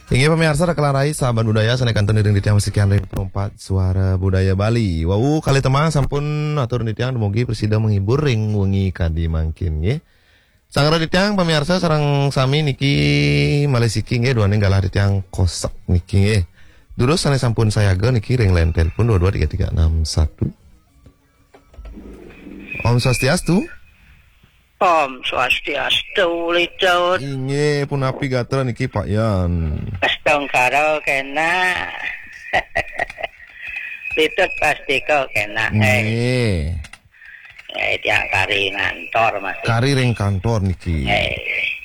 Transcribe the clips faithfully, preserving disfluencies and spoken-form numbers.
Inggih pamiarsa, Raka Larai, sahabat budaya, sané kantun iring titiang masikian ring Pro empat Suara Budaya Bali. Wau kalih tembang sampun atur titiang dumugi prasida menghibur ring wengi kadi mangkin, nggih. Sanggra titiang pamiarsa sareng sami niki malih siki, nggih, duaning galah titiang Kosek niki, nggih. Durus sané sampun sayaga niki ring line telepon dua dua tiga tiga enam satu. Om Swastiastu. Om Swastiastu, Litut. Inggih, punapi gatra niki, Pak Yan? Astungkara kénak. Litut pastika kénak. Eh, Nggih. eh, tiang kari ngantor masih. Kari ring kantor niki. Eh.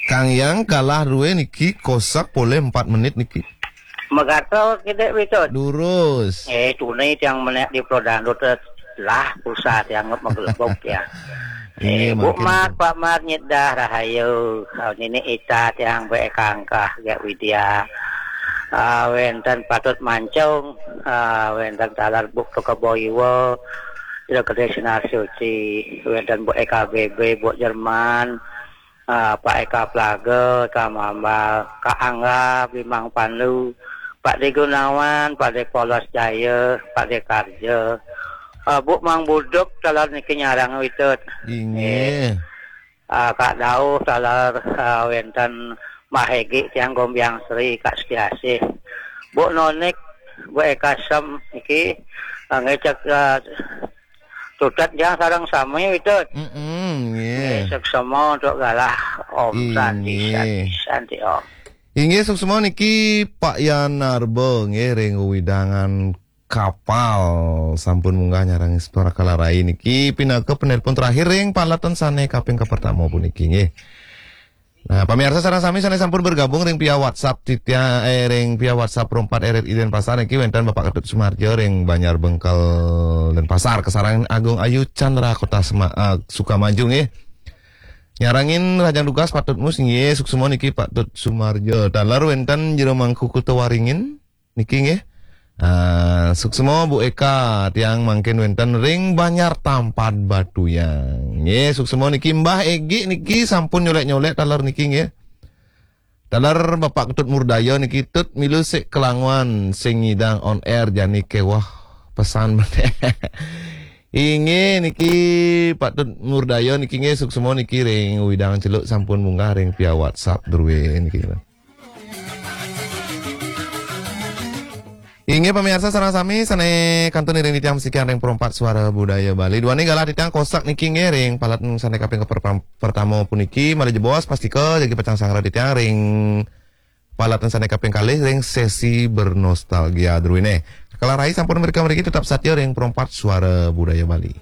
Kang Yang galah duwe niki Kosek polih empat menit niki. Megato kidik, Litut. Durus. Eh, tuni tiang menek di Pro Dangdut, eh, lah pulsa tiang magelebok ya. Inggih, eh, Bu mangkin Mat, Pak Mat, nyidah rahayu. Kau nini Ita tiang be kangkah gak Widya. Ah, wénten Patut Mancung, ah, wénten taler Bu Tukebo Iwa, Ida Gedé Sinar Suci, wénten Bu E K B B, Bu Jerman, ah, Pak Eka Plaga, Eka Mambal, Kak Angga, Bimang Pandu, Pak De Gunawan, Pak De Polos Jaya, Pak De Karja, ah, Bu Mang Buduk, taler niki nyarang Litut. Inggih. Eh, ah, Kak Dauh, taler, ah, wénten Mbah Egi, tiang Gombiang Sri, Kak Setiasih. Bu Nonik, Bu Eka Sem, niki, ah, ngecek, ah, tutet tiang sareng sami, Litut. Mm-mm, nggih. Nggih, suksma untuk galah, Om. Santi, Inggih. Santi, Santi, Om. Inggih, suksma niki Pak Yan Narba, nggih, ring wewidangan Kapal sampun munggah nyarengin Raka Larai niki pinaka penelpon terakhir ring paletan sané kaping kapertama puniki, nggih. Nah, pamiarsa sareng sami sané sampun bergabung ring via WhatsApp titia-, eh, ring via WhatsApp Pro empat R R I Denpasar niki wénten Bapak Ketut Sumarjo ring Banjar Bengkel Denpasar, kasarengin Agung Ayu Chandra Kota Sema-, eh, Sukamaju, nggih. Nyarengin rahajeng dugas Pak Tut Mus, nggih, suksma niki Pak Tut Sumarjo. Taler wénten Jero Mangku Kuta Waringin niki, nggih. Ah, suksma Bu Eka, tiang mangkin wénten ring Banjar Tampat Batuyang. Nggih, suksma niki Mbah Egi niki sampun nyolek-nyolek taler niki, nggih. Taler Bapak Ketut Murdaya niki, Tut, milu sik kalanguan sing ngidang on air jani kéweh pesan. Inggih niki Pak Tut Murdaya niki, nggih, suksma niki ring wewidangan Celuk sampun munggah ring via WhatsApp druwé niki. Inggih pamiarsa sareng sami sané kantun iring titiang masikian ring Pro empat Suara Budaya Bali. Duaning galah titiang Kosek niki, nggih, ring paletan sané kaping kapertam-, pertama puniki malih jebos pastika jagi pacang sanggra titiang ring paletan sané kaping kalih ring sesi bernostalgia druwéné. Raka Larai sampun mrika mriki, tetap satia ring Pro empat Suara Budaya Bali.